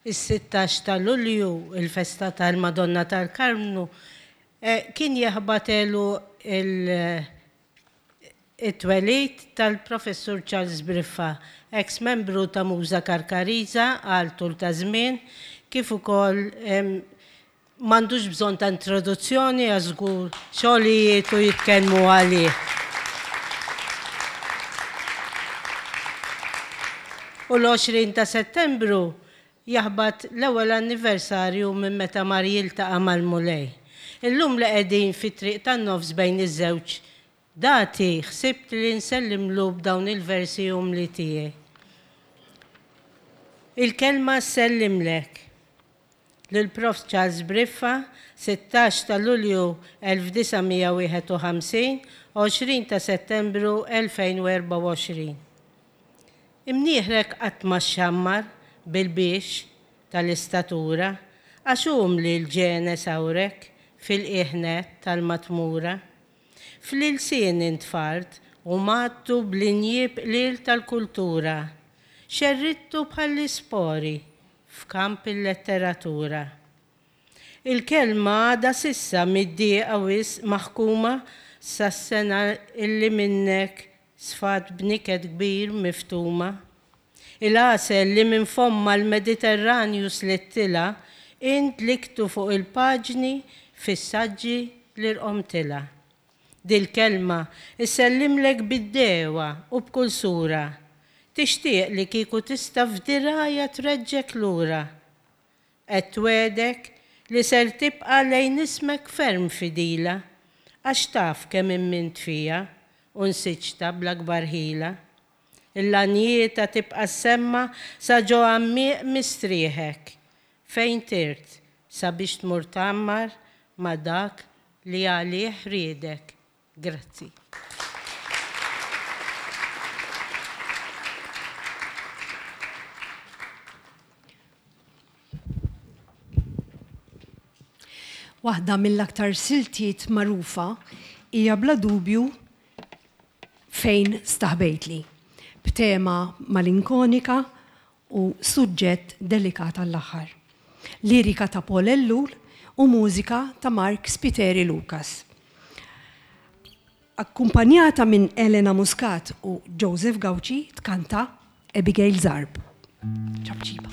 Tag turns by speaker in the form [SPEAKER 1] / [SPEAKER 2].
[SPEAKER 1] Is-16 ta' Lulju, il-festa tal-Madonna tal-Karmnu, kien jaħbat għeluq it-twelid tal-Professur Charles Briffa, eks membru ta' Muża Karkariża għal tul ta' żmien, kif ukoll M'għandux bżonn ta' introduzzjoni għax żgur xogħlijietu jitkellmu għalih. U l-20 ta' Settembru jaħbat l-ewwel anniversarju minn meta mar jiltaqa' mal-Mulej. Illum li qegħdin fit-triq tan-nofs bejn iż-żewġ dati ħsibt li nsellimlu b'dawn il-versi umli tiegħi. Il-kelma ssellimlek. Lill-Profs Charles Briffa, 16 ta' Lulju 1951, 20 ta' Settembru 2024. Imnieħrek qatt ma xxammar bil-biex tal-istatura għax umli l-ġene sawrek fil-qiegħ nett tal-matmura. Fl-ilsien intfart u mgħattu bl-injieb qliel tal-kultura. Xerridtu bħall-ispori f'kamp il-letteratura. Il-kelma għadha s'issa mid-dieqa wisq maħkuma sas-sena illi minnek sfat b'niket kbir miftuma. Il-għasel li minn fommha l-Mediterranju slittilha int liktu fuq il-paġni fis-saġġi li rqomtilha. Dil-kelma ssellimlek bid-dehwa u b'kull sura. Tixtieq li kieku tista' f'dirgħajha treġġgħek lura. Qed twegħdek li ser tibqa' lejn ismek ferm fidila, għax taf kemm immint fiha u nsiġtha bl-akbar ħila. Il-lanjieta tibqa' ssemma' sa ġo għammieq mistrieħek, fejn tirt sabiex tmur tgħammar ma' dak li għalih riedek. Grazzi.
[SPEAKER 2] Waħda mill-aktar siltiet magħrufa hija bla dubju Fejn Staħbejtli, b'tema malinkonika u suġġett delikat għall-aħħar. Lirika ta' Paul Ellul u mużika ta' Mark Spiteri Lucas. Akkumpanjata minn Elena Muscat u Joseph Gauci tkanta Abigail Zarb. Ċapċipa.